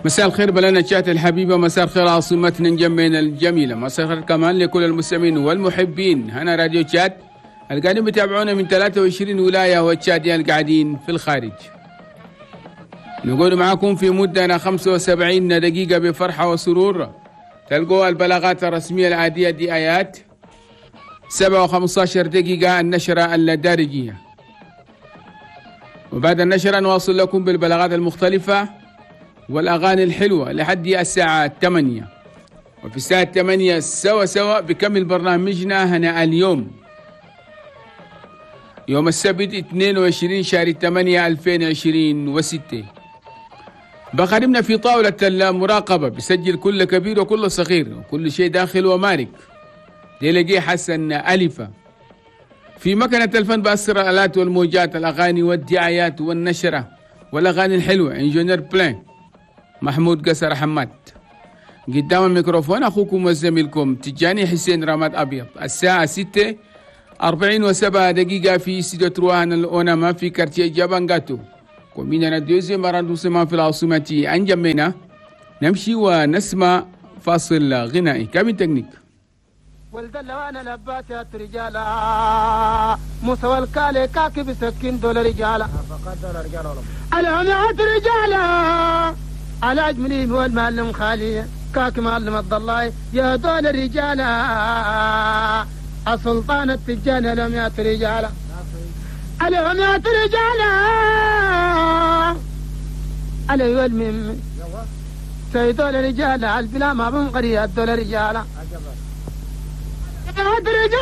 مساء الخير بلدنا تشاد الحبيبة، مساء الخير عاصمتنا نجمينا الجميلة، مساء الخير كمان لكل المستمعين والمحبين هنا راديو تشاد القاعدين بيتابعونا من 23 ولاية والتشاديين القاعدين في الخارج. نقول معاكم في مدة 75 دقيقة بفرحة وسرور. تلقوا البلاغات الرسمية العادية دي آيات 7:15 دقيقة النشرة الدارجية، وبعد النشرة نواصل لكم بالبلاغات المختلفة والأغاني الحلوة لحد الساعة 8، وفي الساعة 8 سوا سوا بكمل برنامجنا هنا اليوم يوم السبت 22 شهر 8 2026. بخدمنا في طاولة المراقبة بسجل كل كبير وكل صغير وكل شيء داخل ومارك ديلقي حسن ألفة. في مكنة الفن بأسر الآلات والموجات الأغاني والدعايات والنشرة والأغاني الحلوة ingénieur بلان محمود قصر حماد. قدام الميكروفون أخوكم وزميلكم تجاني حسين رماد أبيض. الساعة 6:47 في استوديو trois الأونما في quartier جابانغاتو commune deuxième arrondissement في العاصمة أنجمينا. نمشي ونسمع فاصل غنائي cabine technique. ولد وانا لبات رجالا موسى والكالي كاكي بسكين دول رجالا العمات رجالا على أجملين والمعلم خالي كاكي معلم الضلاي يا دول رجالا السلطان التجاني العمات رجالا العمات رجالا علي والمم سيدول رجالا البلا ما بنقري الدول رجالا رجالا.